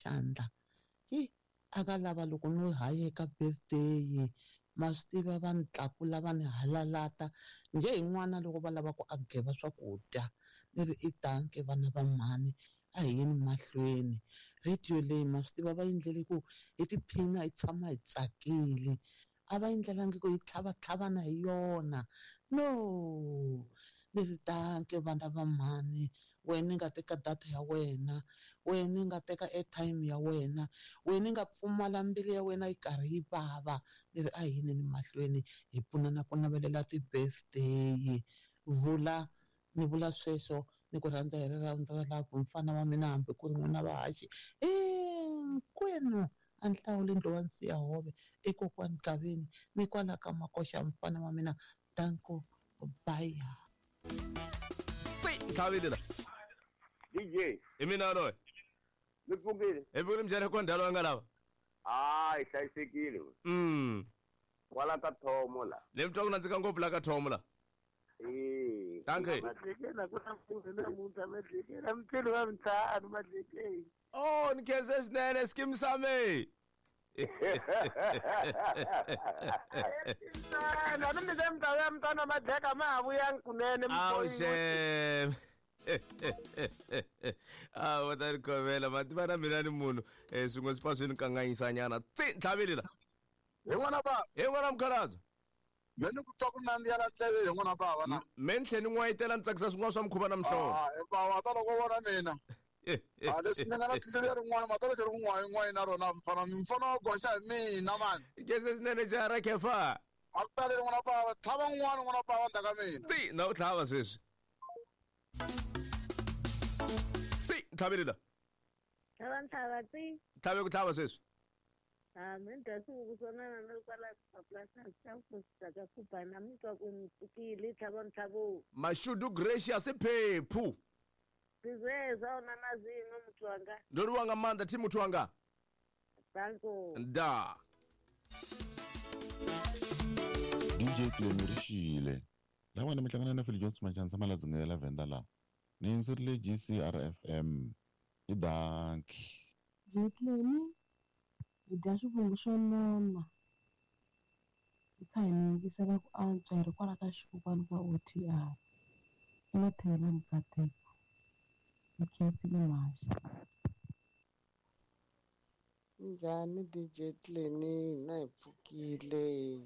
Xandla yi a ka lava loko no hayeka birthday ma swi tiva va ni tlakula va ni halalata njhe hi n'wana loko va lava ku a geva swakudya ni ri i danke vana va mhani a hi yeni mahlweni radio leyi ma swi tiva va endlele ku hi tiphina hi tshama hi tsakile a va endlelangi ku hi tlhavatlhavana hi yona no ni ri danke vana va mhani wena i nga teka data ya wena wena i nga teka airtime ya wena wena i nga pfumala mbilu ya wena yi karhi yi vava ni ri a hi yineni mahlweni hi pfunana ku navelela ti-birthday vula ni vula sweswo ni ku rhandza hi rirhandzu ra love mfana wa mina hambi ku ri n'wina vahaxi hinkwenu a ni hlawuli ndluwa Nsiyahove i kokwani Gaveni ni kwala ka Makoxa mfana wa mina danko baya. Ntlhavile la. DJ. Hi mina loyi. Mi pfukile? Hi pfukile mjhani ko ndhalo nga lava. Ah, hi hlayisekile. Kwala ka Thomo la. Le mi twa ku nandzika ngopfu la ka Thomo la. Eh. Danke. Madlekela ku na mpfula namuntlha madlekela mutshelo wa mintlhanu madlekela. Oh, ni khense swinene skim sami. Na mi mi ta ya mntwana madleka ma ha vuyangi kunene Awu xem. A va ta ni khomela ma tiva na mina ni munhu swin'we swi pfa swi ni kanganyisanyana. Tsi ntlhavile la. Hi n'wana baba. Hi n'wana mukhalabye. Me ni ku twa ku nandziha la ndleve hi n'wana baba na. Me ni tlhe ni n'wayitela ni tsakisa swin'wana swa mukhuva na muhlovo. Ah, baba ta loko vona mina. A leswi ni nga na tindlela ya rin'wana matalo xi ri ku n'wayi n'wayi na rona mfana mfana wa goxa hi mina mani. Khense swinene jaha ra khefa. A ku taleli n'wana baba tlhava n'wana n'wana baba ndzhaku ka mina. Tsi na u tlhava sweswi. Tsi ntlhavile la. Tlhava ntlhava tsi. Tlhave ku tlhava sweswi. Ah, mi dya swihuku swo nana ni ri kwala mapurasini xa ku ka kubana mi twa ku mi pfukile tlhava ntlhavo. Mashudu Gracious phephu. Ndi zwezwo a huna na zwiṅwe muthu wanga. Ndo livhuwa nga maanḓa thi muthu wanga. Danko. Nda. DJ Clem Rishile. La wena mi hlangana na Phil Jones Machansa Maladzingela la Venda la. Ni yingiserile GCRFM. I danki. DJ Clem, hi dya swivungu swo nona. Hi kha hi mi yingisela ku antswa hi ri kwala ka xikokwani ka OTR. I mathevela Mukateko. Hi khensile mhaxi. Njhani DJ Clem, hina hi pfukile.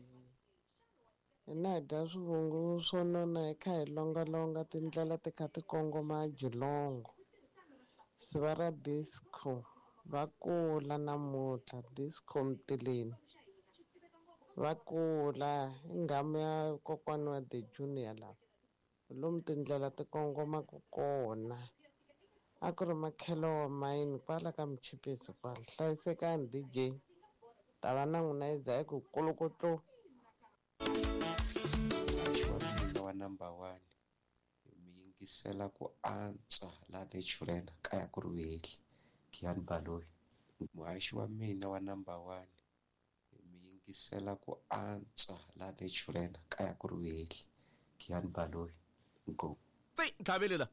Hina hi dya swivungu swo nona hi kha hi longalonga tindlela ti kha ti kongoma Geelong. Siva ra disco va kula namuntlha disco Mtileni. Va kula i nghamu ya kokwani wa The Junior lava. Lomu tindlela ti kongomaka kona. A ku ri makhelo wa mayini kwala ka Mchipisi kwala. Hlayisekani DJ. Ta va na n'wina yi dza yi ku kolokotlo. Wa number 1 mi yingisela ku antswa la Naturena kaya ku ri wehli Giyani Baloyi. Muhaxi wa mina wa number 1 mi yingisela ku antswa la Naturena kaya ku ri wehli Giyani Baloyi. Go. Tsi ntlhavile la.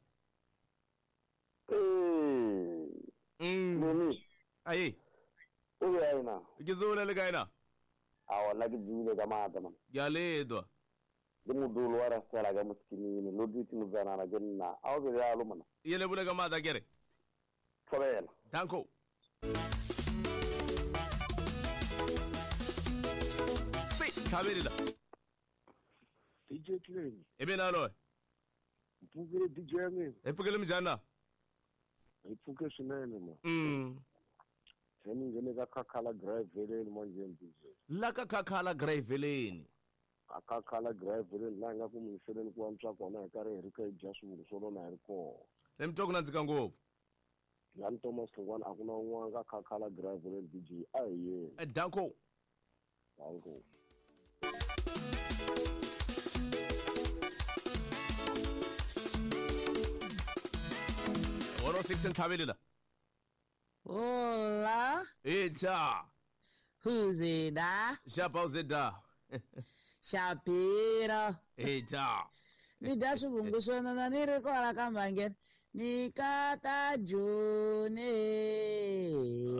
Nini? Ayi. O ya ina. Ke dzula le kae na? A wona ke dzule ka maatla man. Ke a ledwa. Ke modulo wa rasela ka mosikimini lo dutse motsanana ke nna a o be bjalo mona. Ye le bula ka maatla ke re. Thobela. Danko. Tsi ntlhavile la. DJ Clem. E mina loyi. Mpfukile DJ ya mina. Hi pfukile minjhani na? Hi pfuke swinene ma. Se ni nghene ka Khakhala Graveleni manjheni DJ. La ka Khakhala Graveleni. A Khakhala Graveleni laha hi nga ku muyingiseleni ku antswa kona hi karhi hi ri ka hi dya swivungu swo nona hi ri kona. Le mi twa ku nandzika ngopfu. Jan Thomas Hlongwane a ku na un'wana ka Khakhala Graveleni DJ a hi yena. Danko. Danko. One six ntlhavile la. Hola. Ita. Huzida. Xapa uzida. Shapiro. Ita. Ni dya swivungu swo nona ni ri kwala ka mhangeni. Ni kata Joni.